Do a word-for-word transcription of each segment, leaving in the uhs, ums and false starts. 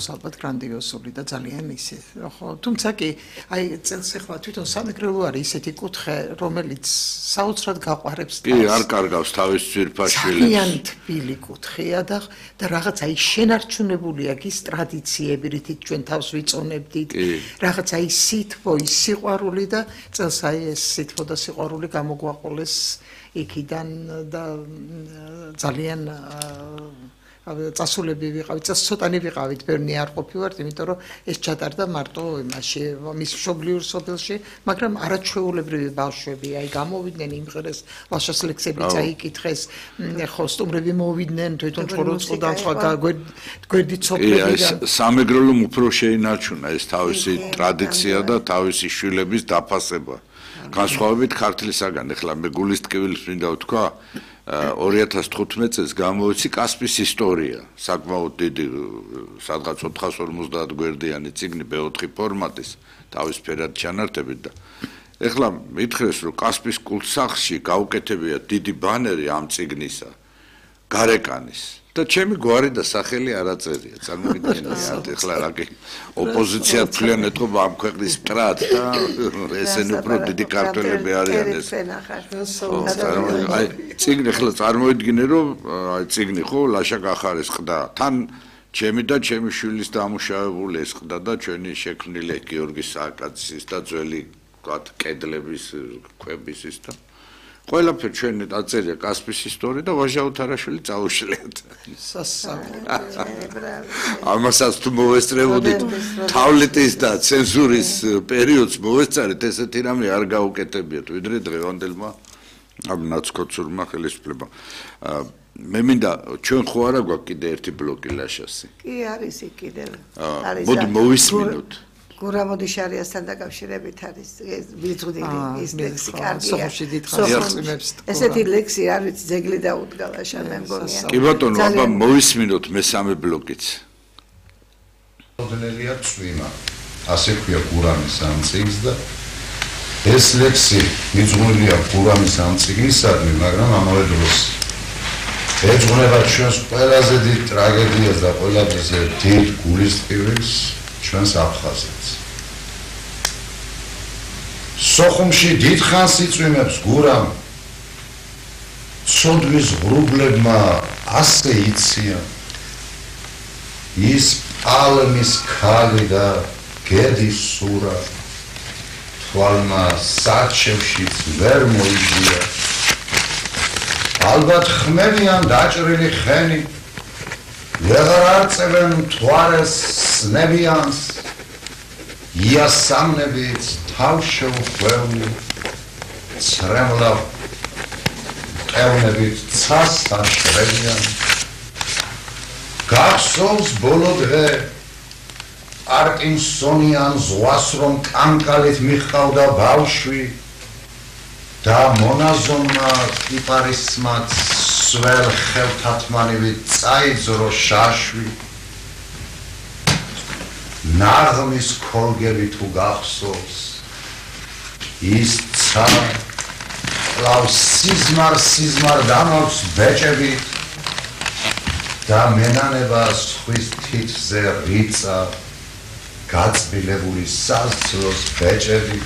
ალბათ გრანდიოზული და ძალიან ისე. ხო, თუმცა კი აი წელს ახლა თვითონ სამეგრელო არის ისეთი კუთხე, რომელიც საოცრად გაყვარებს თავს. კი, არ კარგავს თავის ძვირფაშვილებს. ძალიან თბილი კუთხეა და და რაღაც აი შენარჩუნებული აქვს ის ტრადიციები, რითიც ჩვენ თავს ვიწონებდით. რაღაც აი სითბო, ის სიყვარული და წელს აი ეს სითბო და სიყვარული გამოგვაყოლეს იქიდან და ძალიან წასულები ვიყავით, ცოტანი ვიყავით, ბევრი არ ყოფილვართ, იმიტომ რომ ეს ჩატარდა მარტო იმაში, მის მშობლიურ სოფელში, მაგრამ არაჩვეულებრივი ბავშვები, აი გამოვიდნენ იმღერეს, ლაშას ლექსები წაიკითხეს, ხო, სტუმრები მოვიდნენ, თვითონ ხოროწყოდან სხვა გვერდით სოფლებიდან. სამეგრელომ უფრო შეინარჩუნა ეს თავისი ტრადიცია და თავისი შვილების დაფასება. განსხვავებით ქართლისაგან, ახლა მე გულის ტკივილს მინდა ვთქვა, ორი ათას თხუთმეტ წელს გამოვიცი კასპის ისტორია, საკმაოდ დიდი, სადღაც ოთხას ორმოცდაათ გვერდიანი წიგნი ბე ოთხი ფორმატის, თავისფერად ჩანართებით და ეხლა მითხრეს, რომ კასპის კულტსახში გაუკეთებია დიდი ბანერი ამ წიგნისა, გარეკანის და ჩემი გვარი და სახელი არ აწერია, წარმოგიდგენიათ, ეხლა რა კი ოპოზიცია თვლიან ეთყობა ამ ქვეყნის მტრად და ესენი უფრო დიდი ქართველები არიან ეს. აი წიგნი ახლა წარმოიდგინე რომ აი წიგნი ხო ლაშა კახარის ყდა თან ჩემი და ჩემი შვილის დამუშავებული ეს ყდა და ჩვენი შექმნილი გიორგი სააკაძის და ძველი ვთქვათ კედლების ქვების ის და ყველაფერი ჩვენი აწერია კასპის ისტორია და ვაჟა უთარაშვილი წაუშლიათ. ამასაც თუ მოვესწრებოდით თავლეთის და ცენზურის პერიოდს მოვესწარეთ ესეთი რამე არ გაუკეთებიათ ვიდრე დღევანდელმა ამ ნაცკოცურმა ხელისუფლებამ. მე მინდა ჩვენ ხო არა გვაქვს კიდე ერთი ბლოკი ლაშასი. კი არის იქ კიდევ. არის. მოდი მოვისმინოთ. გურამოდიშარიასთან დაკავშირებით არის ბიძღუდილი ის ლექსი კარგია. სოფში დიდხანს ესეთი ლექსი არ ვიცი ძეგლი დაუდგა შენ მე მგონია. კი ბატონო, აბა მოვისმინოთ მესამე ბლოკიც. მოდელია წვიმა. ასე ქვია გურამის ამ წიგნს და ეს ლექსი მიძღვნილია გურამის ამ წიგნისადმი, მაგრამ ამავე დროს ეძღვნება ჩვენს ყველაზე დიდ ტრაგედიას და ყველაზე დიდ გულისწყვილს ჩვენს აფხაზეთს. სოხუმში დიდხანს იწვიმებს გურამ, ცოდვის ღრუბლებმა ასე იციან, ის პალმის ქალი და გედის სურა, თვალმა საჩევშიც ვერ მოიჯია. ალბათ ხმებიან დაჭრილი ხენი, ვეღარ არწევენ მთვარეს სნებიანს, იასამნებით თავს შეუხვეული, ცრემლავ ყევნებით ცას აშრებიან. გახსოვს ბოლო დღე პარკინსონიან ზღვას რომ კანკალით მიჰყავდა ბავშვი და მონაზონმა კიპარისმაც სველ ხელთათმანივით წაიძრო შაშვი. ნაღმის ქოლგები თუ გახსოვს ის ცა კლავს სიზმარ სიზმარ დამავს ბეჭებით და მენანება სხვის თითზე რიცა გაწბილებული სასძლოს ბეჭები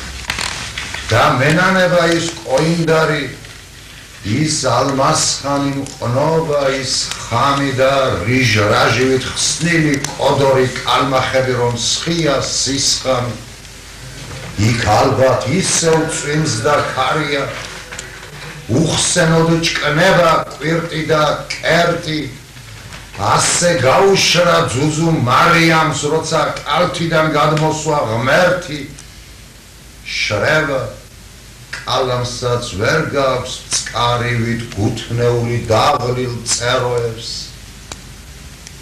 და მენანება ის ყოინდარი ის ალმასხანი მყნობა ის ხამი და რიჟრაჟივით ხსნილი კოდორი კალმახები რომ სხია სისხამი იქ ალბათ ისევ წვიმს და ქარია უხსენოდ ჭკნება კვირტი და კერტი ასე გაუშრა ძუძუ მარიამს როცა კალთიდან გადმოსვა ღმერთი შრება კალამსაც ვერ გაქვს წყარივით გუთნეული დაღლილ წეროებს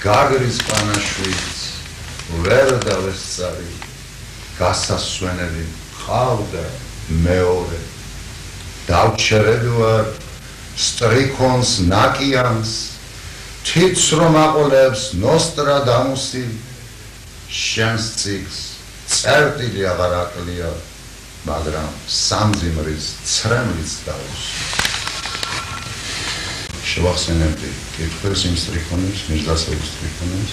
გაგრის პანაშვით ვერ დავესწარი გასასვენები ხავდა მეორე დავჩერები ვარ სტრიქონს ნაკიანს თითს რომ აყოლებს ნოსტრადამუსი შენს წიგს წერტილი აღარ აკლია მაგრამ სამძიმრის ცრემლიც დაუს. შევახსენებდი კითხვის იმ სტრიქონებს, მირზასევის სტრიქონებს,